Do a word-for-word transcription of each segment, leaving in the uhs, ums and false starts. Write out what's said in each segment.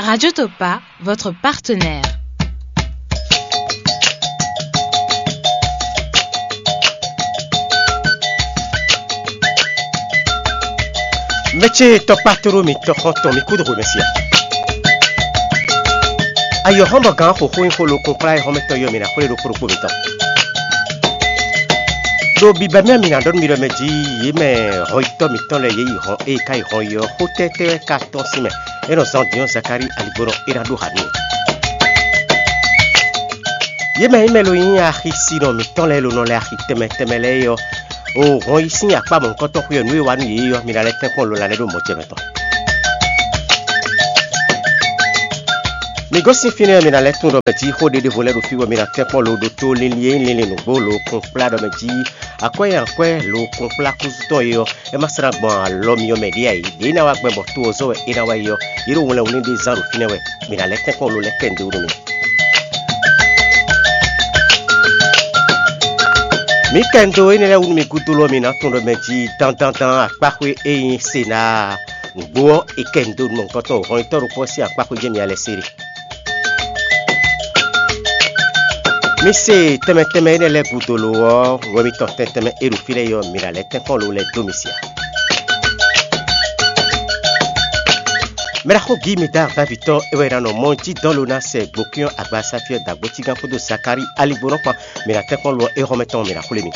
Radio Topa, votre partenaire. Mɛ ce tɔkpá tlóló mitɔn xɔ́ntɔn mi kúdo xwemɛ sia. Ayɔ̌xɔ́mɔgán xǒxó nyí xó lokun kplá e xɔ́mɛtɔn yɔ mǐ ná xwlé ɖokpó ɖokpó mitɔn. Ɖo bibɛmɛ mǐ ná ɖɔ nú mi ɖɔ mɛ jí yě mɛ hɔnyitɔ́ mǐtɔn lɛ́ɛ yě yi hɔn ée ka yi hɔn yi ɔ́, xó tɛ́tɛ́ wɛ ka tɔ́n sín mɛ? É nɔ zán din ɔ́, Zakalíi aligbɔnɔ é ná ɖó ha n'i. Yě mɛ nyí mɛ lo nyí axisinɔ mǐtɔn lɛ́ɛ lo nɔ lɛ axi tɛnmɛ tɛnmɛ lɛ́ɛ é ɔ́, o hɔn yi sín akpá mɔ̌hunkɔtɔn xwé ɔ́, nǔ e wa nú yě é ɔ́, mi ná lɛ́ tɛ́nkpɔ́n lo lanɛ́ ɖo mɔ̌ ce mɛ tɔn. Mi gosín fínɛ́ ɔ́, mi ná lɛ́ tunwun ɖɔ mɛ jí xó ɖé ɖěvo lɛ́ɛ ɖo fí bɔ mi ná tɛ́nkpɔ́n lo ɖo tó linlin e nyí linlin nǔgbó lo kún kplá ɖɔ mɛ jí akwɛ́ e akwɛ́ lo kún kplá kúzu tɔn é ɔ́, é ma slá gbɔn alɔ myɔ mɛ ɖě ǎ é. Ɖě é ná wá gbɛn bɔ to ɔ́ zɔ́ wɛ é ná wá yi ɔ́, yě ɖo wlɛnwlɛ́n ɖé zán ɖo fínɛ́ wɛ. Mi ná lɛ́ kɛ́nkɔ́n lo lɛ́ kɛ nǔɖé wú nú mì. Mǐ kɛ ndo énɛ́ lɛ́ɛ wú nú mi gúdo lɔ mi ná tunwun ɖɔ mɛ jí dandandan akpáxwé e nyí Senáa nǔgbó ɔ́, è kɛ ndo nukɔntɔn hɔnyitɔ́ ɖokpó ɔ́ sín akpáxwé jɛ́n mi alɛ se ɖe. Mi se tɛnmɛ tɛnmɛ énɛ́ lɛ́ɛ gúdo lo ɔ́, wɛ mitɔn tɛn tɛnmɛ e ɖo fí lɛ́ɛ é ɔ́, mi ná lɛ́ tɛ́nkpɔ́n lo lɛ́ dó mi sia. Mɛɖaxó Gímedár Davitɔ é wɛ ná nɔ mɔ jí dɔn lo ná sɛ gbokíɔn agbasáfí ɔ́ dó agbócígán kpódó Zakalíi aligbónɔ kpán. Mi ná tɛ́nkpɔ́n lo ɔ́, é hɔn mɛ tɔn mi ná xwlé mi.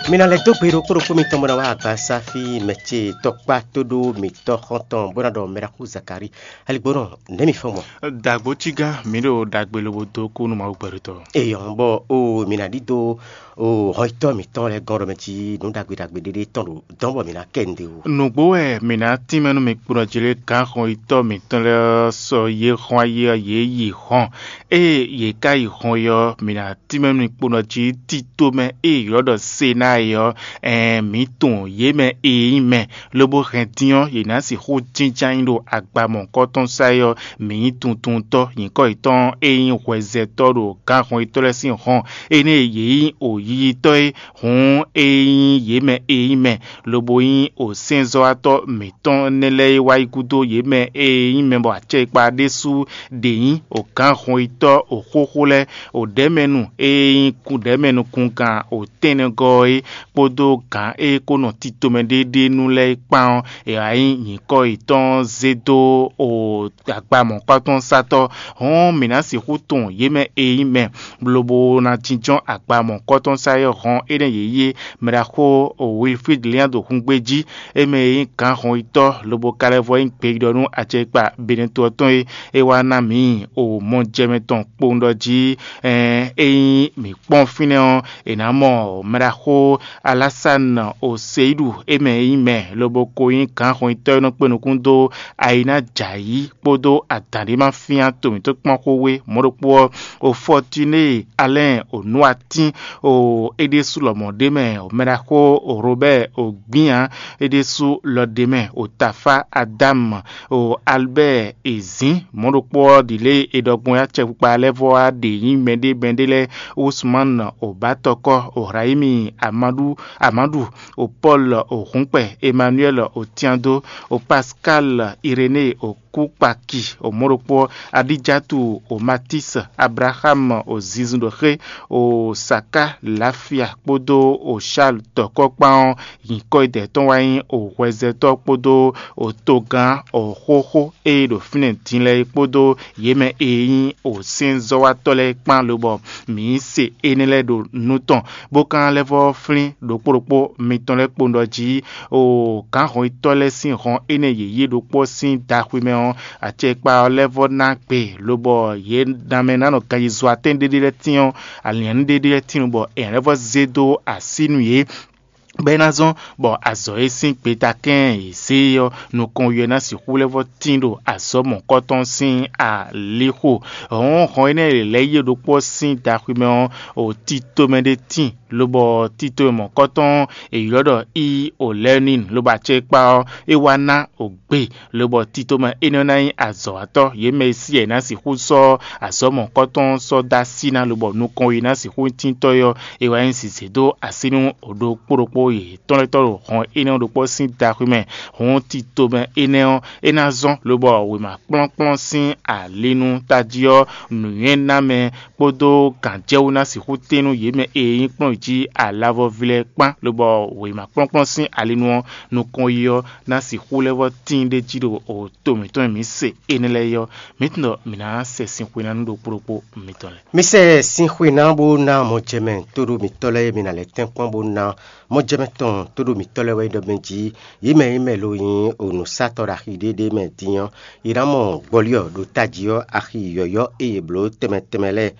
Mi ná lɛ́ dó gbe ɖokpó ɖokpó mitɔn bó ná wá agbasáfí mɛ ce tɔkpá tóɖó mǐtɔn xɔ́ntɔn bó ná ɖɔ mɛɖaxó Zakalíi aligbónɔ nɛ̌ mi fɔ́n gbɔn? Dǎgbócígán, mǐ ɖo ɖagbe lobo dó kú nú Mawu gbɛɖutɔ́. Eyɔn bɔ o mi ná ɖidó o hɔnyitɔ́ mǐtɔn lɛ́ɛ gɔ́n ɖɔ mɛ cí nǔ ɖagbe ɖagbe ɖéɖé tɔn ɖo dɔn bɔ mǐ ná kɛ nǔɖé wú. Nǔgbó wɛ mǐ ná tínmɛ nú mi kpo nɔ jí lé gǎn hɔnyitɔ́ mǐtɔn lɛ́ɛ ɔ́ sɔ yě hɔn ayé ɔ́ yě yi hɔn. Ée yě ká yi hɔn é ɔ́, mǐ ná tínmɛ nú mi kpo nɔ jí tito mɛ e è ylɔ́ ɖɔ Senáa é ɔ́, ɛɛn mǐ tunwun yě mɛ e nyí mɛ, lobo hɛn din ɔ́, yě ná sixú jínjɔ́n ayǐ ɖo agba mɔ̌hunkɔtɔn sá é ɔ́, mǐ nyí tuntuntɔ́. Nyǐkɔ yětɔn e nyí hwɛzɛtɔ́ ɖo gǎnhɔnyitɔ́ lɛ́ɛ sín hɔn, énɛ́ e yě nyí wǒyíyítɔ́ é, hǔn é nyí yě mɛ e nyí mɛ, lobo nyí wǒsɛ́nzɔ́watɔ́ mǐtɔn énɛ́ lɛ́ɛ e wá yi gúdo yě mɛ e nyí mɛ bɔ acɛkpa ɖésú ɖě nyí wǒgǎnhɔnyitɔ́ wǒxóxó lɛ́ɛ, wǒɖɛ́mɛnu e nyí kúɖɛ̌mɛnukungán wǒtɛ́nnɛgɔ́ é, kpódó gǎn e ko nɔ tito mɛ ɖéɖénu lɛ́ɛ kpán ɔ́, è wǎ nyí nyǐkɔ yětɔn zé dó o agba mɔ̌kpátɔ́nsatɔ́. Hɔn mǐ ná sixú tunwun yě mɛ e nyí mɛ, lobo ná jínjɔ́n agba mɔ̌kpátɔ́nsá e hɔn énɛ́ yě yi é. Mɛɖaxó Wilfrid Lian ɖo hungbe jí, é mɛ e nyí gǎnhɔnyitɔ́ lobo ka lɛ́ vɔ nyí gbeyíɖɔ nú acɛkpa Benɛto ɔ́ tɔn é. É wá ná mǐ o mɔjɛmɛ tɔn kpowun ɖɔ jí, ɛn é nyí mǐ kpɔ́n fínɛ́ ɔ́, è nǎ mɔ mɛɖaxó Alásanu Oseyíɖu, é mɛ e nyí mɛ lobo ko nyí gǎnhɔnyitɔ́ e nɔ kpé nukún dó ayi ná jɛ ayǐ kpódó adǎn ɖé ma fyán to mǐtɔn kpɔ́n xó wé mɔ̌ ɖokpó ɔ́, o Fɔtiné Alɛ́n o nú atín o é ɖésú lɔmɔ̌ ɖ'é mɛ, o mɛɖaxó o Robɛ́ɛ o gbǐn ǎ, é ɖésú lɔ ɖ'é mɛ, o Tafá Adámu, o Albɛ́ɛ e zǐn mɔ̌ ɖokpó ɔ́ ɖi lě e è ɖɔ gbɔn é acɛkpikpa lɛ́ɛ vɔ wá ɖě nyí mɛɖé mɛɖé lɛ́ɛ, Usmán o bǎtɔkɔ́, o Hrayími Amáɖu Amáɖu, o Pɔ́lu o hǔnkpɛ, Emanuɛ́li o tyándó, o Paskáli Irené o kúkpaki, o mɔ̌ ɖokpó ɔ́, Adíjatu o Matísi, Ablaxámu o zinzun ɖo xé, o Saká Lafia kpódó o Shálu tɔkɔ́ kpán ɔ́, nyǐkɔ e dɛ̌ tɔn wá nyí o hwɛzɛtɔ́ kpódó o togán o xóxó e ɖo fínɛ́ din lɛ́ɛ é kpódó yě mɛ e nyí o sɛ́nzɔ́watɔ́ lɛ́ɛ kpán lobɔ mǐ se énɛ́ lɛ́ɛ ɖo nú tɔn, bó ka lɛ́ vɔ́ flín ɖokpó ɖokpó mitɔn lɛ́ɛ kpowun ɖɔ jí, o gǎnhɔnyitɔ́ lɛ́ɛ sín hɔn énɛ́ yě yí ɖokpó sín daxwi mɛ ɔ́, acɛkpa ɔ́ lɛ́ vɔ́ ná gbe, lobɔ yě ná mɛ ná nɔ ganyizo atɛ́n ɖéɖé lɛ́ɛ tín ɔ́, alǐnnyánú ɖéɖé lɛ́ɛ tín bɔ è nǎ lɛ́ vɔ́ zé dó así nú yě, bɔ é ná zɔ́n bɔ azɔ̌ e sín gbeta kɛ́n è zě e ɔ́, nukɔn ɔ́ ná sixú lɛ́ vɔ́ tín ɖo azɔ̌ mɔ̌kɔtɔn sín alixo. Hɔ̌nhɔn énɛ́ e lɛ̌ yí ɖokpó ɔ́ sín daxwi mɛ ɔ́, o tito mɛ ɖé tíin, lobɔ tito e mɔ̌kɔtɔn e ylɔ́ ɖɔ i o lɛ́ɛ n'i, lobɔ acɛkpa ɔ́, é wá ná o gbe, lobɔ tito mɛ énɛ́ ná nyí azɔ̌watɔ́. Yě mɛ e sí yɛ ná sixú sɔ́ azɔ̌ mɔ̌kɔtɔn sɔ́ dó así ná, lobɔ nukɔn e ná sixú tíntɔ́ é ɔ́, é wá nyí zǐzé dó así nú o ɖokpó ɖokpó. yětɔn lɛ́ɛ tɔn ɖo hɔn énɛ́ ɔ́ ɖokpó sín daxwé mɛ. Hɔn tito mɛ énɛ́ ɔ́, é ná zɔ́n lobɔ wěma kplɔ́nkplɔ́n sín ali nú tají ɔ́, nǔnywɛ́namɛ kpódó gǎnjɛwú ná sixú tín nú yě mɛ e nyí kplɔ́n jí alavɔví lɛ́ɛ kpán, lobɔ wěma kplɔ́nkplɔ́n sín ali nú ɔ́, nukɔn yi ɔ́ ná sixú lɛ́ vɔ́ tíin ɖ'é jí ɖo to mǐtɔn e mǐ se énɛ́ lɛ́ɛ é ɔ́, mǐ tunwun ɖɔ mǐ ná sɛ sin xwe ná nú ɖokpó ɖokpó mitɔn lɛ́ɛ. Mi sɛ sin xwe ná bó ná mɔjɛmɛ tóɖó mitɔ́ lɛ́ɛ e mi ná lɛ́ tɛ́nkpɔ́n bó ná mɔjɛmɛ tɔn tóɖó mitɔ́ lɛ́ɛ wɛ nyí ɖɔ mɛ jí yě mɛ e mɛ lo nyí onǔsatɔ́ ɖo axi ɖéɖé mɛ din ɔ́, yě ná mɔ gbɔlí ɔ́ ɖo tají ɔ́ axi yɔ̌yɔ́ e yě bló tɛnmɛ tɛnmɛ lɛ́ɛ.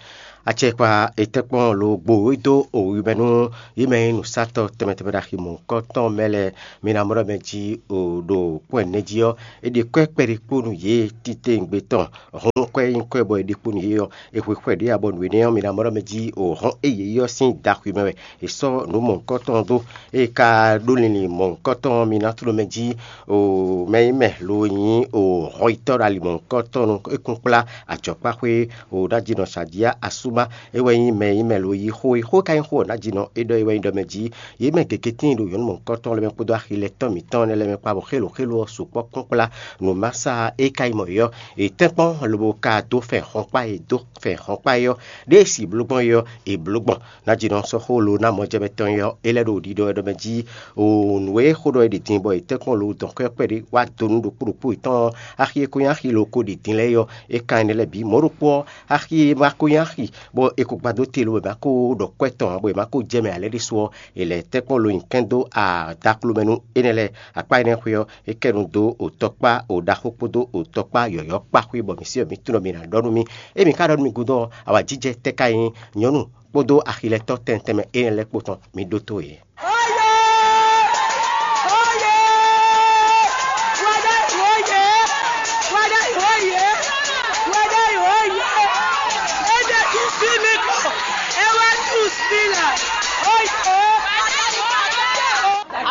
Acɛkpa etɛ́kpɔ́n lo gbo e dó owi mɛ nú yě mɛ e nyí nǔsatɔ́ tɛnmɛ tɛnmɛ ɖo axi mɔ̌hunkɔtɔn mɛ lɛ́ɛ, mi ná mɔ ɖɔ mɛ jí o ɖo kpɔ́n ɛnɛ jí ɔ́, è ɖe kwɛ́ kpɛɖé kpo nú yě titewungbe tɔn. Hɔn kwɛ́ nyí kwɛ́ bɔ è ɖe kpo nú yě ɔ́, è hwe xwɛ ɖě ǎ bɔ nǔ énɛ́ ɔ́, mi ná mɔ ɖɔ mɛ jí o hɔn e yě yi ɔ́ sín daxwi mɛ wɛ è sɔ́ nǔ mɔ̌hunkɔtɔn dó. Ée ka ɖó linlin mɔ̌hunkɔtɔn ɔ́, mi ná tló mɛ jí o mɛ e mɛ lo nyí o hɔnyitɔ́ ɖo ali mɔ̌hunkɔtɔn nú é kún kplá ajɔ̌kpáxwé o ná jí nɔ sǎjia asúma. É wɛ nyí mɛ e mɛ lo yí xó e xó e ka nyí xó ɔ́ ná jí nɔ é ɖɔ é wɛ nyí ɖɔ mɛ jí yě mɛ gěgé tíin ɖo nyɔ̌nu mɔ̌hunkɔtɔn lɛ́ɛ mɛ kpódó axi lɛ́ɛ tɔn mǐtɔn lɛ́ɛ mɛ kpá bɔ xélo xélo ɔ́ sukpɔ́ kún kplá nǔmasa e ka nyí mɔ̌ é ɔ́, è tɛ́nkpɔ́n lobo ka dó fɛn hɔnkpá e dó fɛn hɔnkpá é ɔ́, ɖěe si bló gbɔn é ɔ́, è bló gbɔn. Ná jí nɔ sɔ́ xó lo ná mɔjɛmɛ tɔn é ɔ́, é lɛ́ ɖo ɖiɖɔ wɛ ɖɔ mɛ jí o nǔ e xó ɖɔ é ɖi din bɔ è tɛ́nkpɔ́n lo dɔn xwɛ kpɛɖé wá dó nú ɖokpó ɖokpó yětɔn ɔ́, axi e ko nyí axi lo ko ɖi din lɛ́ɛ é ɔ́, é ka nyí nɛ́ lɛ́ɛ bǐ. Mɔ̌ ɖokpó ɔ́, axi e ma ko nyí axi bɔ è ko gbadó te lo bɔ è ma ko ɖɔ kwɛ́ tɔn ǎ, bɔ è ma ko jɛ mɛ ǎ lɛ́ɛ ɖésú ɔ́, è lɛ̌ tɛ́nkpɔ́n lo nyi kɛ́n dó adaklo mɛ nú énɛ́ lɛ́ɛ. Akpá énɛ́ xwé ɔ́, é kɛ nu dó o tɔkpá o ɖaxó kpódó o tɔkpá yɔ̌yɔ́ kpá xwé bɔ mǐ sí ɔ́, mǐ tunwun ɖɔ mǐ ná ɖɔ nú mì. Ée mǐ ka ɖɔ nú mi gúdo ɔ́, awǎjijɛ tɛ́ ka nyí nyɔ̌nu kpódó axilɛtɔ́ tɛnmɛ tɛnmɛ énɛ́ lɛ́ɛ kpó tɔn? Mi ɖótó yě.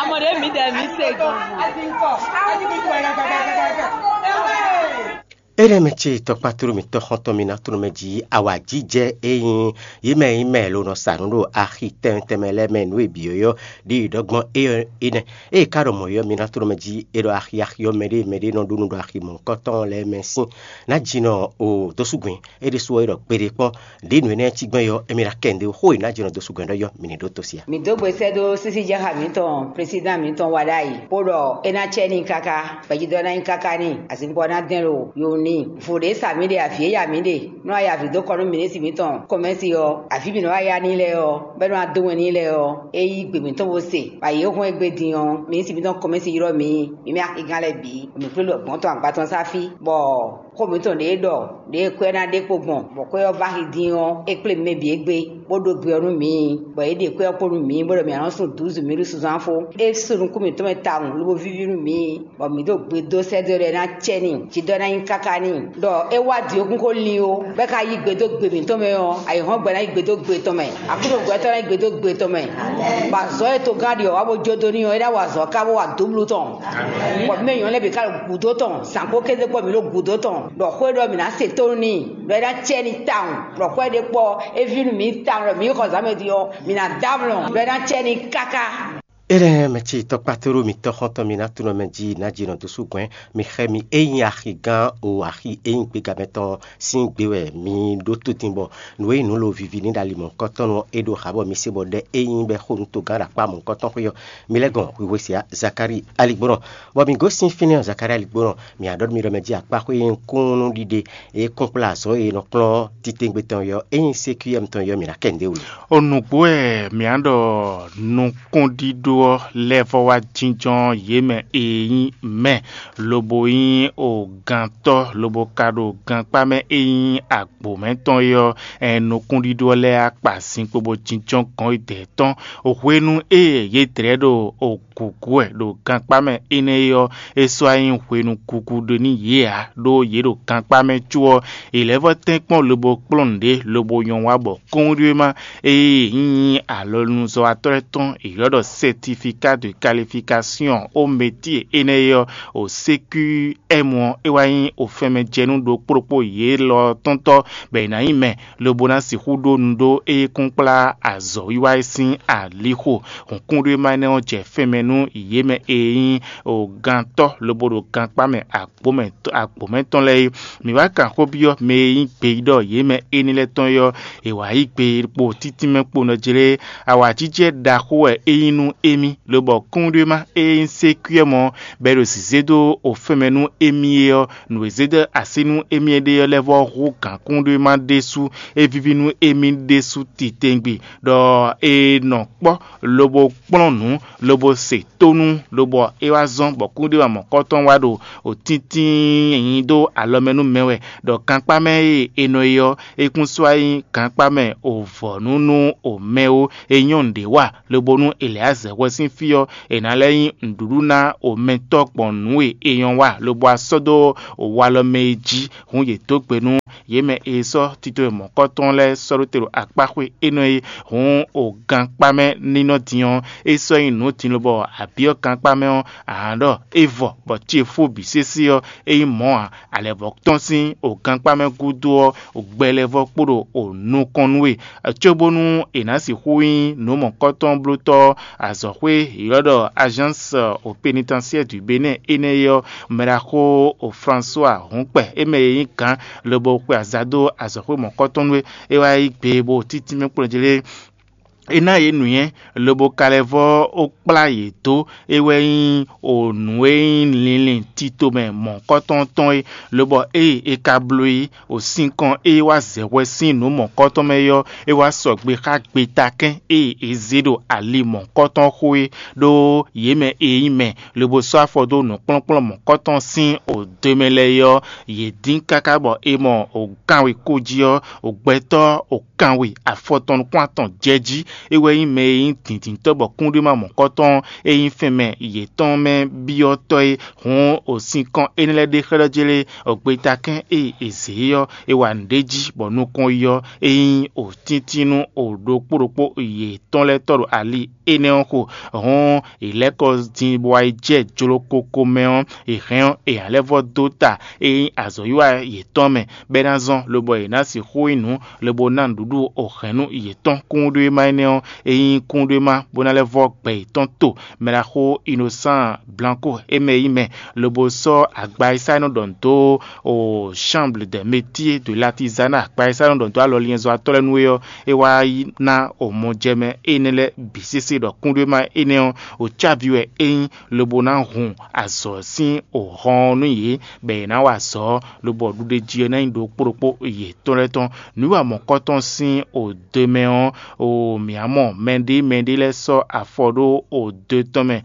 Amɔ ɖe mi ɖe mi se gan. Énɛ́ mɛ ce tɔkpatoro mǐtɔn xɔntɔn mi ná tló mɛ jí awǎjijɛ e nyí yě mɛ e nyí mɛ lo nɔ sa nǔ ɖo axi tɛnmɛ tɛnmɛ lɛ́ɛ mɛ nǔ e bǐ ɔ́ yɔ́ ɖi ɖɔ gbɔn é ɔ́ énɛ́. Ée ka ɖɔ mɔ̌ ɔ́, mi ná tló mɛ jí é ɖɔ axi axi ɔ́ mɛɖée mɛɖée nɔ ɖó nú ɖɔ axi mɔ̌hunkɔtɔn lɛ́ɛ mɛ sín ná jí nɔ o dó sú gbɛn. É ɖésú ɔ́, é ɖɔ gbeɖé kpɔ́n ɖě nǔ énɛ́ cí gbɛn ɔ́, émí ná kɛ nǔɖé xó e ná jí nɔ dó sú gbɛn ɖɔ yɔ́, mi ní ɖótó sí a? Mǐ dó gbe sɛ́ dó sísíjɛ́xá mǐtɔn, plɛsídán mǐtɔn wa ɖ'ayǐ, bó ɖɔ é ná cɛ n'i káká, gbɛjidɔ́ ná nyí káká n'i, azinkpo ná dɛn ɖo yo n'i. Vo ɖě sa mǐ ɖe, avǐ e ya mǐ ɖe, nú a ya avǐ dó kɔ nú minisitiri mǐtɔn kɔmɛ́si ɔ́, avǐ mǐ nɔ wá ya n'i lɛ́ɛ ɔ́, bɔ é nɔ wá dó wɛn n'i lɛ́ɛ ɔ́, é yí gbe mǐtɔn bó se, bɔ ayǐ e hɔn égbé din ɔ́, minisitiri mǐtɔn kɔmɛ́si ylɔ́ mǐ, mǐ mɛ axigán lɛ́ɛ bǐ, mǐ kplé ɖɔ gbɔ̌n tɔn agba tɔn sá fí, bɔ xó mǐtɔn ɖě ɖɔ ɖě kwɛ́ ná ɖe kpo gbɔn, bɔ kwɛ́ ɔ́ vá axi din ɔ́, é kplé mɛ bǐ égbé, bó ɖó gbe ɔ́ nú mǐ, bɔ yě ɖe kwɛ́ ɔ́ kpo nú mǐ, bó ɖɔ mǐ ná nɔ sun dǔzu mǐ ɖo sunzán fó. É sú nukún mǐtɔn mɛ tawun lobo víví nú mǐ, bɔ mǐ ɖo gbe dó sɛ́ dó ɖɔ é ná cɛ n'i, jǐ dɔ ná nyí káká n'i, ɖɔ é wá dǐ ó kún xó lin ó, bɔ é ka yí gbe dó gbe mǐtɔn mɛ ɔ́, ayǐhɔ́ngbe ná yí gbe dó gbe tɔn mɛ, aklúnɔgbɛ́tɔ́ ná yí gbe dó gbe tɔn mɛ, bɔ azɔ̌ e togán ɖi ɔ́ wá bó jó dó n'i ɔ́, é ná wa azɔ̌ ká bó wa dǒblú tɔn. Bɔ mɛ nyɔ̌nu lɛ́ɛ bǐ ka ɖo gǔdo tɔn, zǎn kpó kéze kpó mǐ ɖo gǔdo tɔn, ɖɔ xó e ɖɔ mǐ ná se tónú n'i, ɖɔ é ná cɛ n'i tawun, ɖɔ xó e ɖe kpɔ é ví nú mǐ tawun, ɖɔ mǐ yi xɔ zǎn mɛ din ɔ́, mǐ ná dó amlɔ, ɖɔ é ná cɛ n'i káká. Énɛ́ mɛ ce tɔkpatoro mitɔn xɔntɔn mi ná tunɔ mɛ jí ná jí nɔ dó sú gbɛn, mi xɛ mi é nyí axigán o axi é nyí gbégamɛ tɔn sín gbé wɛ mi ɖó tó din bɔ nǔ e nyí nǔ lo vivi ní ɖo ali mɔ̌hunkɔtɔn nu ɔ́, é ɖo xá bɔ mi se bɔ ɖɛ é nyí bɔ é xo nú togán ɖo akpá mɔ̌hunkɔtɔn xwé ɔ́. Mi lɛ́ gɔn hwihwe se Zakalíi aligbɔnɔ, bɔ mi gosín fínɛ́ ɔ́ Zakalíi aligbɔnɔ, mi ná ɖɔ nú mi ɖɔ mɛ jí akpá xwé e nyí kúnnú ɖiɖe e kún kplá azɔ̌ e nɔ kplɔ́n titewungbe tɔn ɔ́, é nyí C Q M tɔn ɔ́, mi ná kɛ nǔɖé wú. O nǔgbó wɛ mǐ á ɖɔ nukúnɖíɖó ɔ́ lɛ́ vɔ wá jínjɔ́n yě mɛ e nyí mɛ, lobo nyí ogǎntɔ́, lobo ka ɖo gankpá mɛ e nyí agbǒ mɛ tɔn é ɔ́, ɛn nukúnɖíɖó ɔ́ lɛ́ á kpa zinkpo bó jínjɔ́n gɔ̌n e dɛ̌ tɔn. Hwenu e yě dlɛ̌ ɖo gǔgú wɛ ɖo gankpá mɛ énɛ́ é ɔ́, é sɔ́ wá nyí hwenu gugu ɖé nú yě ǎ, ɖó yě ɖo gankpá mɛ có ɔ́, è lɛ́ vɔ́ tɛ́nkpɔ́n lobo kplɔ́n nǔɖé, lobo nyɔ́ wá bɔ kɔ́nɖíwéma e nyí alɔnuzɔ́watɔ́ lɛ́ɛ tɔn è ylɔ́ ɖɔ sɛ́ti certificat de qualification ó métier énɛ́ é ɔ́, o C Q M ɔ́, é wá nyí o fɛnmɛ jɛ nú ɖokpó ɖokpó yě lɔ tɔn tɔ́, bɔ è nǎ nyí mɛ lobo ná sixú ɖó nu ɖó é kún kplá azɔ̌wiwa é sín alixo. Hǔnkúnɖéma énɛ́ ɔ́ jɛ fɛnmɛ nú yě mɛ e nyí gantɔ́ lobo ɖo gankpá mɛ agbǒ mɛ tɔn lɛ́ɛ é. Mǐ wá kan xó byɔ́ mɛ e nyí gbeyíɖɔ yě mɛ énɛ́ lɛ́ɛ tɔn é ɔ́, è wǎ yí gbe kpo títínmɛ kpo nɔ jlé. Awǎjijɛ ɖaxó wɛ é nyí nú émí, lobɔ kúnɖéma e nyí sékwíɛ́mɔ ɔ́, bɔ è ɖo zǐzé dó ofɛ́nmɛ nú émí é ɔ́, nǔ e zé dó así nú émí é ɖe ɔ́ lɛ́ vɔ́ hú gǎnkúnɖéma ɖésú. É víví nú émí ɖésú titewungbe, ɖɔ è nɔ kpɔ́ lobo kplɔ́n nǔ, lobo se tónú, lobɔ é wá zɔ́n bɔ kúnɖéma mɔ̌kɔtɔn wá ɖo òtíntín nyi dó alɔ mɛ nú mɛ wɛ, ɖɔ gankpá mɛ e è nɔ yi ɔ́, é kún sɔ́ wá nyí gankpá mɛ ovɔ̌nu nú omɛ ó. É nyɔ́ nǔɖé wa, lobonú Eleyazɛ hwɛ sín fí ɔ́, è nǎ lɛ́ nyí nǔɖuɖu ná omɛtɔ́ gbɔn nǔ e è nyɔ́ wa, lobo wá sɔ́ dó walɔ mɛ e jí. Hǔn yě dó gbe nú yě mɛ e sɔ́ tito e mɔ̌kɔtɔn lɛ́ɛ sɔ́ ɖó te ɖo akpáxwé énɛ́ é. Hǔn o gankpá mɛ nínɔ́ din ɔ́, é sɔ́ nyí nǔ din lobɔ abǐ ɔ́ gankpá mɛ ɔ́, a nǎ ɖɔ é vɔ, bɔ ce fó bǐ sésé ɔ́, é nyí mɔ̌ ǎ. Alɛ̌vɔ́ tɔn sín o gankpá mɛ gúdo ɔ́, o gbɛ lɛ́ɛ vɔ́ kpo ɖo o nukɔn nú we, cóbónú è nǎ sixú nyí nǔ mɔ̌kɔtɔn blótɔ́ azɔ̌xwé ylɔ́ ɖɔ Agence au pénitentiaire du Bénin énɛ́ é ɔ́, mɛɖaxó o François Hɔnkpɛ, é mɛ e nyí gǎn lobo xwe aza dó azɔ̌xwé mɔ̌kɔtɔn nú é, é wá yí gbe bó títínmɛ kplɔ́n jí lé. É ná yě nǔnywɛ́, lobo ka lɛ́ vɔ́ ó kplá yě dó. É wɛ nyí o nǔ e nyí linlin tito mɛ mɔ̌kɔtɔn tɔn é, lobɔ ée é ka bló é, o sinkɔn e wá zɛ hwɛ sín nǔ mɔ̌kɔtɔn mɛ é ɔ́, é wá sɔgbe xá gbetakɛ́n e è zě ɖo ali mɔ̌kɔtɔn xo é, ɖó yě mɛ e nyí mɛ lobo sɔ́ afɔ dó nǔkplɔ́nkplɔ́n mɔ̌kɔtɔn sín o do mɛ lɛ́ɛ é ɔ́, yě dín káká bɔ è mɔ o kanwe kó jí ɔ́, o gbɛtɔ́ o kanwe afɔtɔn nukún atɔn jɛ jí. É wɛ nyí mɛ e nyí dǐndíntɔ́ bɔ kúnɖéma mɔ̌kɔtɔn e nyí fɛnmɛ yětɔn mɛ byɔ́tɔ́ é. Hǔn o sinkɔn énɛ́ lɛ́ɛ ɖe xlɛ́ jlé, o gbetakɛ́n e è zě é ɔ́, è wa nǔɖé jí bɔ nukɔn yi ɔ́, é nyí o tíntín nú o ɖokpó ɖokpó yětɔn lɛ́ɛ tɔ́ ɖo ali énɛ́ ɔ́ xo. Hǔn è lɛ́ kɔ din bɔ wá yi jɛ jló koko mɛ ɔ́, è hɛn ɔ́, è ǎ lɛ́ vɔ́ dó ta e nyí azɔ̌wiwa yětɔn mɛ, bɔ é ná zɔ́n, lobɔ è nǎ sixú nyí nǔ, lobo ná nǔɖuɖu o hɛ̌nnu yětɔn kúnɖéma énɛ́ ɔ́, é nyí kúnɖéma bó ná lɛ́ vɔ́ gbɛ yětɔn to. Mɛɖaxó Innocent Blanco é mɛ yí mɛ, lobo sɔ́ agba e sá nɔ ɖɔ nǔ dó o Chambre des métiers de l'artisanat, agba e sá nɔ ɖɔ nǔ dó alɔliɛnzɔ́watɔ́ lɛ́ɛ nú é ɔ́, é wá ná o mɔjɛmɛ énɛ́ lɛ́ɛ bǐ sésé ɖɔ kúnɖéma énɛ́ ɔ́, o cávi wɛ é nyí, lobo ná hun azɔ̌ sín o hɔn ɔ́ nú yě, bɔ yě ná wa azɔ̌, lobɔ ɖuɖéjí ɔ́ ná nyí ɖokpó ɖokpó yětɔn lɛ́ɛ tɔn. Nǔwiwa mɔ̌kɔtɔn sín o do mɛ ɔ́, o mǐ mɔ mɛɖé mɛɖé lɛ́ɛ sɔ́ afɔ ɖó o do tɔn mɛ,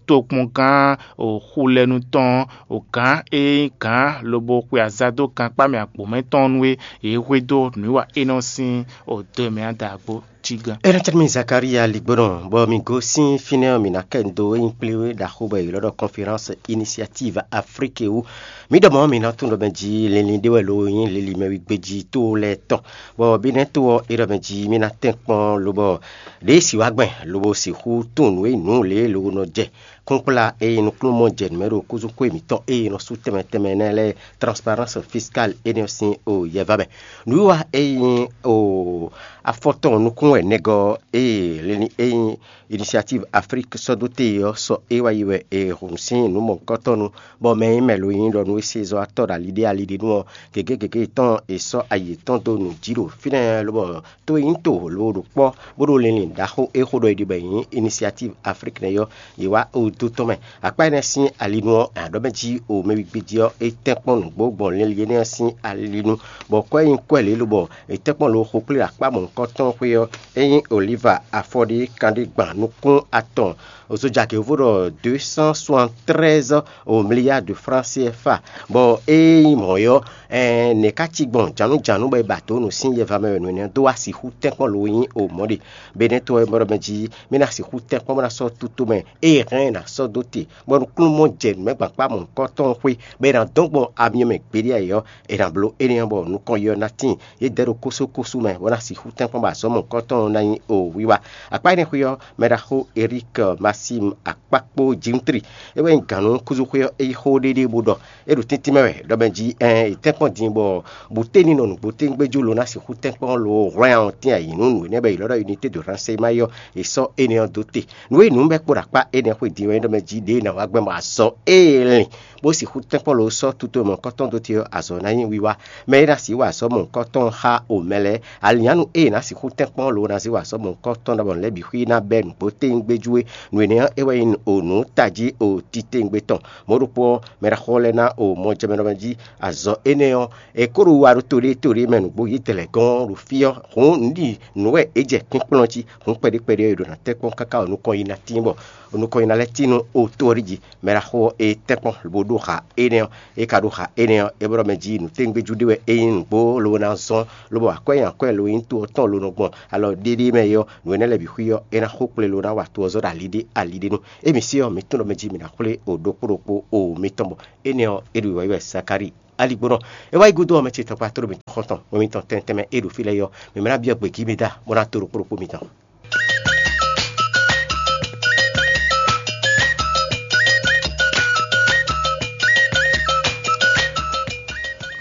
tokpɔngán o xulɛnu tɔn, o gǎn e nyí gǎn lobo xwe aza dó gankpá mɛ agbǒmɛ tɔn nú é, yě hwedó nǔwiwa énɛ́ ɔ́ sín o do mɛ ada agbo. Cí gán. Énɛ́ tɛ́ mi Zakaria ligbónɔ, bɔ mi gosín fínɛ́ ɔ́, mi ná kɛ dó e nyí kplé ɖaxó bɔ è ylɔ́ ɖɔ Conférence Initiative Afrique wú. Mi ɖɔ mɔ̌ mi ná tunwun ɖɔ mɛ jí linlin ɖé wɛ lo nyí lili mɛ wí gbéjí tó lɛ́ɛ tɔn, bɔ bí nɛ́ tó ɔ́ é ɖɔ mɛ jí mi ná tɛ́n kpɔ́n lobɔ ɖěe si wá gbɛn lobo sixú tunwun nǔ e nǔ lě e lo nɔ jɛ kúnkplá e nyí nukúnnú jɛ nǔ mɛ ɖo kúzúxwé mǐtɔn e è nɔ sú tɛnmɛ tɛnmɛ nɛ́ lɛ́ɛ, transparence fiscale énɛ́ ɔ́ sín o yɛvá mɛ. Nǔwiwa e nyí o afɔtɔn nukún wɛ nɛgɔ́ e linlin e nyí Initiative Afrique sɔ́ dó te ɔ́ sɔ é wá yi wɛ è hun sín nǔ mɔ̌hunkɔtɔn nu, bɔ mɛ e nyí mɛ lo nyí ɖɔ nú é se zɔ́ atɔ́ ɖo ali ɖé ali ɖé nu ɔ́, gěgé gěgé tɔn è sɔ́ ayi yětɔn dó nǔ jí ɖo fínɛ́ lobɔ to e nyí to lo ɖo kpɔ́ bó ɖo linlin ɖaxó e xo ɖɔ è ɖi bɔ è nyí Initiative Afrique nɛ́ ɔ́, yě wá o dó tɔn mɛ. Akpá énɛ́ sín ali nu ɔ́, è nǎ ɖɔ mɛ jí o mɛ wígbí jí ɔ́, é tɛ́nkpɔ́n nǔgbó gbɔn linlin énɛ́ ɔ́ sín ali nu, bɔ kɔ́ e nyí kɔ́ lě lobɔ è tɛ́nkpɔ́n lo xo kplé ɖo akpá mɔ̌hunkɔtɔn xwé ɔ́, é nyí Oliva afɔɖí kanɖé gban nukún atɔn. Ozojagě vo ɖɔ deux cent soixante-treize milliards de francs C F A, bɔ ée nyí mɔ̌ ɔ́, ɛɛ nɛ̌ ká cí gbɔn jǎnújǎnú bɔ è ba dǒ nǔ sín yɛva mɛ wɛ nǔ énɛ́ dó wá sixú tɛ́nkpɔ́n lo nyí o mɔ̌ ɖe? Benɛ́ to ɔ́, mɛ ɖɔ mɛ jí mì ná sixú tɛ́nkpɔ́n bó ná sɔ́ tutomɛ ée hɛn ná sɔ́ dó te, bɔ nukúnnú mɔ jɛ nǔ mɛ gbǎn kpá mɔ̌hunkɔtɔn xwé, bɔ è nǎ dɔn gbɔn amyɔ mɛ gbeɖé ǎ é ɔ́, è nǎ bló énɛ́ ɔ́, bɔ nukɔn yi ɔ́ ná tíin. Yě dɛ ɖo kósókósó mɛ, bó ná sixú tɛ́nkpɔ́n bɔ azɔ̌ mɔ̌hunkɔtɔn ɔ́ ná nyí o wiwa. Akpá énɛ́ xwé ɔ́, mɛɖaxó Erik Masim Akpákpó Jimtri, é wɛ nyí gǎn nú kúzúxwé ɔ́, é yi xó ɖéɖéé bó ɖɔ: É ɖo tɛ́ntin mɛ wɛ, ɖɔ mɛ jí ɛɛn, è tɛ́nkpɔ́n din bɔ bǔténí nɔ nǔgbó tɛ́ngbéjú lo ná sixú tɛ́nkpɔ́n lo hwlɛ́n ɔ́ tɛ́n ayǐ nú nǔ énɛ́ bɔ è ylɔ́ ɖɔ unité de ranseyman ɔ́, è sɔ́ énɛ́ ɔ́ dó te. Nǔ e nyí nǔ bɛ́ kpo ɖo akpá énɛ́ xwé din ɔ́, é ɖɔ mɛ jí ɖěe è nǎ wá gbɛn bɔ azɔ̌ e è lin bó sixú tɛ́nkpɔ́n lo sɔ́ tuto mɔ̌hunkɔtɔn dó te ɔ́, azɔ̌ ná nyí wiwa. Mɛ e ná sixú wa azɔ̌ mɔ̌hunkɔtɔn xá o mɛ lɛ́ɛ, alǐnnyánu e è nǎ sixú tɛ́nkpɔ́n lo ná zé wa azɔ̌ mɔ̌hunkɔtɔn ɖɔhun lɛ́ɛ bǐ xwí ná bɛ́ nǔgbó tɛ́ngbéjú é. Nǔ énɛ́ ɔ́, é wɛ nyí o nǔ tají o titewungbe tɔn. Mɔ̌ ɖokpó ɔ́, mɛ ɖaxó lɛ́ɛ ná o mɔjɛmɛ ɖɔmɛ jí azɔ̌ énɛ́ ɔ́, è ko ɖo wa ɖo to ɖé to ɖé mɛ nǔgbó yě dɛ lɛ̌ gɔ́n ɖo fí ɔ́, hǔn nǔ ɖi nǔ wɛ é jɛ kpínkplɔ́n jí, hǔn kpɛɖé kpɛɖé ɔ́, è ɖǒ ná tɛ́nkpɔ́n káká ɔ́, nukɔn yi ná tín bɔ nukɔn yi ná lɛ́ tín nú o to ɔ́ ɖi jí. Mɛ ɖaxó ɔ́, é tɛ́nkpɔ́n lobo ɖó xa énɛ́ ɔ́, é ka ɖó xa énɛ́ ɔ́, é blɔ́ mɛ jí nǔ tɛ́ngbéjú ɖé wɛ é nyí nǔgbó lobo ná zɔ́n, lobo akwɛ́ nyi akwɛ́ lo nyí to ɔ́ tɔn lo nɔ gbɔn alɔ ɖéɖé mɛ é ɔ́, nǔ énɛ́ lɛ́ɛ bǐ xwí ɔ́, é ná xó kplé lo ná wa to ɔ́ zɔ́ ɖo ali ɖé ali ɖé nu. Émí sí ɔ́, mǐ tunwun ɖɔ mɛ jí mǐ ná xwlé o ɖokpó ɖokpó o mitɔn bɔ énɛ́ ɔ́, é ɖo wǐwáyi wɛ Zakalíi aligbónɔ. É wá yi gúdo ɔ́, mɛ ce tɔkpa tló mǐtɔn xɔ́ntɔn, mɛ mitɔn tɛntɛn mɛ é ɖo fí lɛ́ɛ é ɔ́, mǐ mlá byɔ́ gběgí mi da bó ná to ɖokpó ɖokpó mitɔn.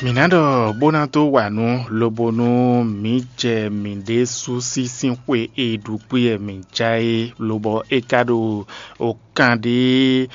Mǐ ná ɖɔ bó ná dó wa nǔ, lobo nú mǐ jɛ mǐɖée sú sín xwe e ɖu kpé wɛ mǐ ja é, lobɔ é ka ɖo kan ɖě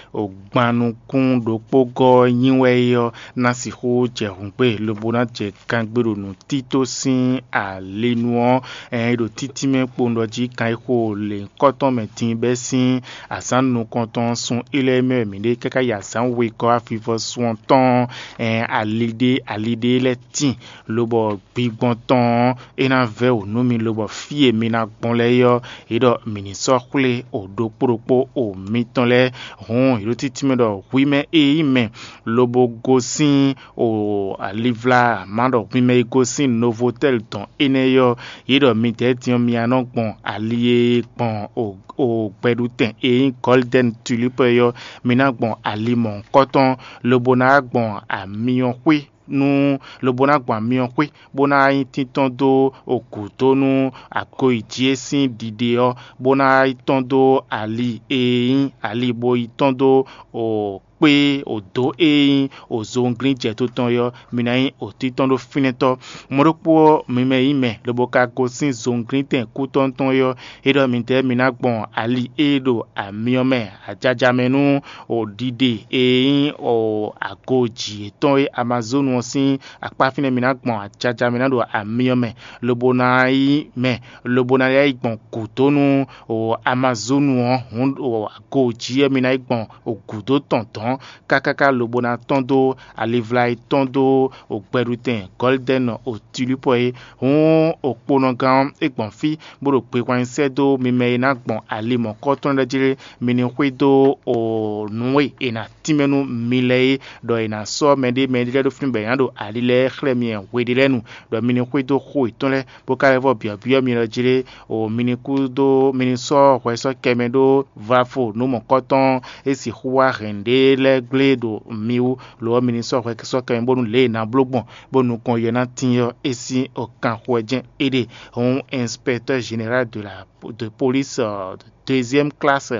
gban nukún ɖokpó gɔ́ nyi wɛ é ɔ́, ná sixú jɛ hǔngbe, lobo ná jɛ kangbé ɖo nǔtító sín ali nu ɔ́, ɛn, é ɖo títí mɛ kpowun ɖɔ jí kan e xo lěhunkɔtɔn mɛ din bɛ́ sín azǎn nukɔntɔn ɔ́ sun é lɛ́ɛ mɛ wɛ mǐ ɖe káká yi azǎn wegɔ́ avivɔsun ɔ́ tɔn, ɛn, ali ɖé ali ɖé lɛ́ɛ tíin, lobɔ gbigbɔn tɔn ɔ́, é ná vɛ́ wǔ nú mi, lobɔ fí e mi ná gbɔn lɛ́ɛ é ɔ́, yě ɖɔ mǐ ní sɔ́ xwlé o ɖokpó ɖokpó o mitɔn lɛ́ɛ. Hǔn, yě ɖo títí mɛ ɖɔ hwi mɛ e nyí mɛ lobo gosín o alivla, má ɖɔ hwi mɛ e gosín Novotɛ́li dɔn énɛ́ é ɔ́, yě ɖɔ midɛɛ din ɔ́, mi ná nɔ gbɔn ali e gbɔn o o gbɛɖutɛn e nyí Gɔ́lidɛ́ni Tulípɔ é ɔ́, mi ná gbɔn ali mɔ̌hunkɔtɔn, lobo ná gbɔn amyɔxwé nú lobo ná gbɔn amyɔxwé, bó ná nyí tíntɔ́n dó gǔdo nú agoyi jí é sín ɖiɖe ɔ́, bó ná yi tɔ́n dó ali e nyí ali bo yi tɔ́n dó kpé dǒ e nyí zowunglín jɛto tɔn é ɔ́, mi ná nyí tíntɔ́n ɖó fínɛ́tɔ́. Mɔ̌ ɖokpó ɔ́, mi mɛ e nyí mɛ lobo ka gosín zowunglíntɛn kútɔ́ tɔn é ɔ́, é ɖɔ midɛɛ mi ná gbɔn ali e ɖo amyɔ mɛ ajaja mɛ nú ɖiɖe e nyí ago jǐ yětɔn e Amazonu ɔ́ sín akpá fínɛ́ mi ná gbɔn ajaja mɛ ná ɖo amyɔ mɛ, lobo ná nyí mɛ, lobo ná lɛ́ yi gbɔn gǔdo nú Amazonu ɔ́, hǔn ago jǐ wɛ mi ná yi gbɔn gǔdo tɔn dɔ̌n kákáká lobo ná tɔ́n dó alivla e tɔ́n dó gbɛɖutɛn Gɔlidɛ́ni Tilípɔ é. Hǔn okponɔgán ɔ́, é gbɔn fí bó ɖo gbehwan nyi sɛ́ dó mi mɛ e ná gbɔn ali mɔ̌kɔ́tɔn lɛ́ɛ jí lé, mi ní xwedó nǔ e è nǎ tínmɛ nú mi lɛ́ɛ é, ɖɔ è nǎ sɔ́ mɛɖé mɛɖé lɛ́ɛ ɖó fínɛ́ bɔ è nǎ ɖo ali lɛ́ɛ xlɛ́ mi hweɖé lɛ́ɛ nu, ɖɔ mi ní xwedó xó yětɔn lɛ́ɛ, bó ka lɛ́ vɔ byɔ̌byɔ́ mi lɔ jí lé, o mi ní kúdó mi ní sɔ́ hwɛ sɔ́ kɛ mɛ ɖó vlafo nǔ mɔ̌kɔ́tɔn e sixú wá hɛn ɖě lɛ́ɛ gblé ɖo mi wú, lo ɔ́, mi ní sɔ́ hwɛ sɔ́ kɛ mɛ bónú lě e è nǎ bló gbɔn bó nukɔn yɛ ná tín ɔ́, é sín kanxɔ wɛ jɛ́n é ɖe. Hǔn inspecteur général de la de police deuxième classe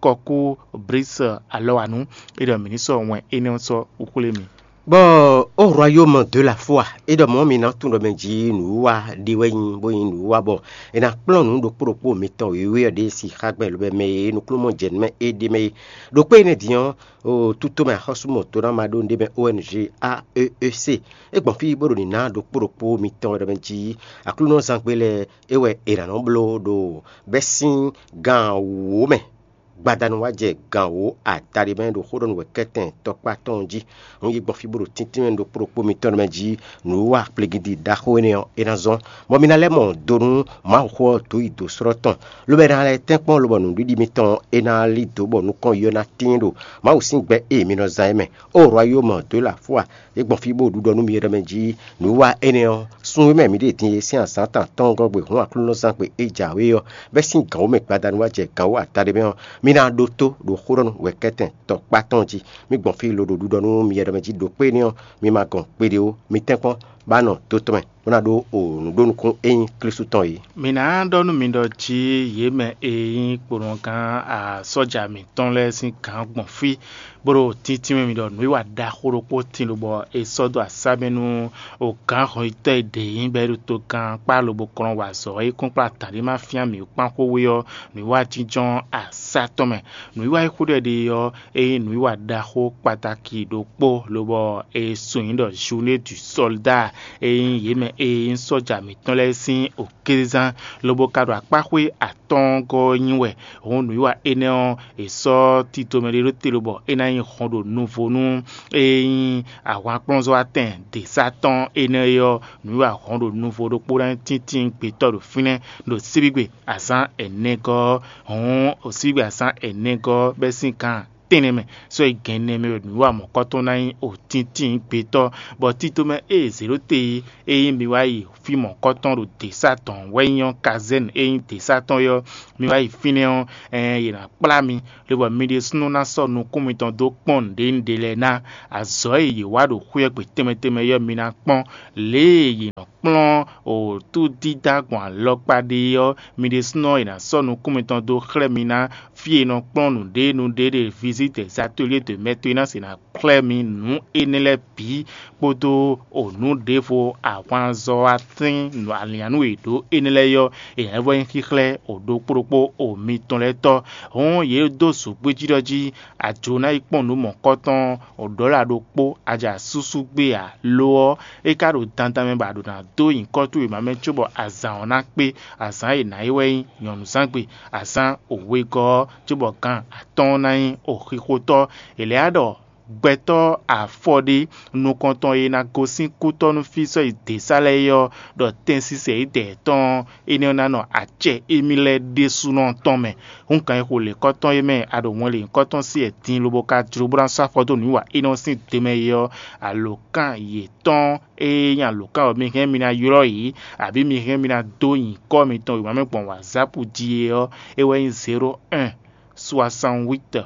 Kɔkú Brice Alɔwanu, é ɖɔ mǐ ní sɔ́ wɛn énɛ́ ɔ́ sɔ́ xwlé mi. Bɔ ó royaume de la foi, é ɖɔ mɔ̌ mi ná tunwun ɖɔ mɛ jí nǔwiwa ɖé wɛ nyí, bó nyí nǔwiwa bɔ è nǎ kplɔ́n nǔ ɖokpó ɖokpó mitɔn wěwé ɔ́ ɖě si xá gbɛ lobɛ mɛ e nukúnnú mɔ jɛ nǔ mɛ é ɖ'é mɛ é. Ɖokpó énɛ́ din ɔ́, o tutomɛ axɔ́súmɔtonámaɖónu ɖé mɛ O N G A E E C, é gbɔn fí bó ɖo nǐ ná ɖokpó ɖokpó mitɔn wɛ ɖɔ mɛ jí Aklúnɔzán gbe lɛ́ɛ é wɛ è nǎ nɔ bló ɖo bɛ́sín gan wǒ mɛ. Gbadanu wá jɛ gan wǒ adaɖé mɛ ɖo xó ɖɔ nú wɛ̌kɛ́tɛn tɔkpá tɔn jí. Hǔn yi gbɔn fí bó ɖo tíntín mɛ ɖokpó ɖokpó mitɔn mɛ jí nǔwiwa kplégídi ɖaxó énɛ́ ɔ́, é ná zɔ́n, bɔ mi ná lɛ́ mɔ do nú Mawuxó ɔ́ dǒ yi dǒ slɔ́ tɔn, lobo é ná lɛ́ tɛ́nkpɔ́n lobɔ nǔɖiɖi mitɔn é ná lí dǒ bɔ nukɔn yi ɔ́ ná tíin ɖo Mawu sín gbɛ e mi nɔ zán é mɛ. Ó royaume de la foi, é gbɔn fí bó ɖu ɖɔ nú mi é ɖɔ mɛ jí nǔwiwa énɛ́ ɔ́, sun e mɛ mǐ ɖe din é sín azǎn tɔn atɔ́ɔ́ngɔ́ gbe hǔn Aklúnɔzán gbe é jǎwe ɔ́, bɛ́ sín gǎn wǒ mɛ gbadanu wá jɛ gǎn wǒ adaɖé mɛ ɔ́, Mi ná ɖótó ɖo xó ɖɔ nú wɛ̌kɛ́tɛn tɔkpá tɔn jí. Mi gbɔn fí loɖo ɖiɖɔ nú mi yɛ ɖɔ mɛ jí ɖo kpé énɛ́ ɔ́, mi ma gɔn kpeɖé ó. Mi tɛ́nkpɔ́n bá nɔ dó tɔn mɛ, bó ná ɖó o nǔ ɖó nukún e nyí Klísu tɔn é. Mi ná ɖɔ nú mi ɖɔ jí yě mɛ e nyí kponɔgán sɔ́ja mǐtɔn lɛ́ɛ sín gǎn gbɔn fí, bó ɖo tíntín mɛ mi ɖɔ nǔwiwa ɖaxó ɖokpó tín lobɔ è sɔ́ dó asá mɛ nú gǎn hɔnyitɔ́ e ɖě nyí bɔ é ɖo togán kpá lobo kplɔ́n wa azɔ̌ e kún kplá taɖé ma fyán mǐ kpán xwé ɔ́, nǔwiwa jínjɔ́n asá tɔn mɛ. Nǔwiwa e xó ɖɔ è ɖe ɔ́, é nyí nǔwiwa ɖaxó kpataki ɖokpó, lobɔ è sun nyǐ ɖɔ Journée du Soldat, e nyí yě mɛ e nyí sɔ́ja mǐtɔn lɛ́ɛ sín òkézán, lobo ka ɖo akpáxwé atɔ́ɔ́ngɔ́ ɔ́ nyi wɛ. Hǔn nǔwiwa énɛ́ ɔ́, è sɔ́ tito mɛ ɖé ɖó te lobɔ é ná nyí hɔn ɖo nuvo nú e nyí ahwankplɔ́nzɔ́watɛn děsá tɔn énɛ́ é ɔ́, nǔwiwa hɔn ɖo nuvo ɖokpó ná nyí tíntín gbetɔ́ ɖo fínɛ́ ɖo síbígbe azǎn ɛnɛgɔ́ ɔ́. Hǔn síbígbe azǎn ɛnɛgɔ́ ɔ́ bɛ́ sín gan tɛ́nnɛ mɛ, sɔ́ yi gɛn nɛ mɛ wɛ nǔwiwa mɔ̌kɔtɔn ná nyí òtíntín gbetɔ́, bɔ tito mɛ e è zě ɖó te é, ényí mi wá yi fí mɔ̌kɔtɔn ɖo děsá tɔn wɛ nyí ɔ́, kazɛ́n e nyí děsá tɔn é ɔ́, mi wá yi fínɛ́ ɔ́, ɛɛn yě ná kplá mi, lobɔ mi ɖésúnɔ ná sɔ́ nukún mitɔn dó kpɔ́n nǔɖé nǔɖé lɛ́ɛ ná. Azɔ̌ e yě wa ɖo xwé ɔ́ gbe tɛnmɛ tɛnmɛ é ɔ́, mi ná kpɔ́n. Lě e yě nɔ kplɔ́n wǒtúdídá gbɔn alɔkpa ɖe é ɔ́, mi ɖésúnɔ è nǎ sɔ́ nukún mitɔn dó xlɛ́ mi ná fí e è nɔ kplɔ́n nǔɖé nǔɖé ɖe vizite zatolie de mɛto e ná se ná xlɛ́ mi nǔ énɛ́ lɛ́ɛ bǐ kpódó o nǔ ɖěvo ahwanzɔ́watɛ́n alǐanú e è ɖǒ énɛ́ lɛ́ɛ ɔ́, è nǎ vɔ nyí xíxlɛ́ o ɖokpó ɖokpó o mitɔn lɛ́ɛ tɔ́. Hǔn yě dó zǔgbíjíɖɔ jí, a jǒ ná yi kpɔ́n nǔ mɔ̌kɔtɔn ɖɔ̌la ɖokpó, a jɛ asúsú gbé ǎ; lo ɔ́, é ka ɖo dandan mɛ bɔ a ɖǒ ná dó nyǐkɔ towe mɛ cóbɔ azǎn ɔ́ ná kpé. Azǎn e è nǎ yi wɛ nyí nyɔ̌nuzángbe, azǎn wegɔ́ ɔ́, cóbɔ gan atɔ́ɔ́n ná nyí oxixotɔ́. È lɛ̌ ɖɔ gbɛtɔ́ afɔ ɖé nukɔntɔn e ná gosín kútɔ́ nú fí sɔ́ yi dě sá lɛ́ɛ é ɔ́, ɖɔ tɛnsisɛ e dɛ tɔn ɔ́, énɛ́ ɔ́ ná nɔ acɛ émí lɛ́ɛ ɖésúnɔ tɔn mɛ. Hǔn kan e xo lěkɔ́tɔn e mɛ a ɖo wɛn lěhunkɔtɔn sí wɛ din lobo ka jló bó ná sɔ́ afɔ dó nǔwiwa énɛ́ ɔ́ sín do mɛ é ɔ́, alǒkan yětɔn e nyí alǒkan ɔ́ mi hɛn mi ná ylɔ́ yě, abǐ mi hɛn mi ná dó nyǐkɔ mitɔn wěma mɛ gbɔn wǎzápu jí é ɔ́, é wɛ nyí zéro un soixante-huit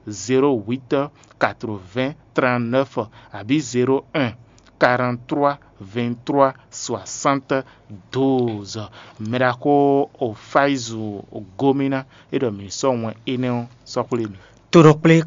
zéro huit quatre-vingts trente-neuf, abǐ zéro un quarante-trois vingt-trois soixante douze. Mɛ ɖaxó Ofaizu Gomina é ɖɔ mǐ sɔ́ wɛn énɛ́ ɔ́ sɔ́ xwlé mì. Tonɔ kplé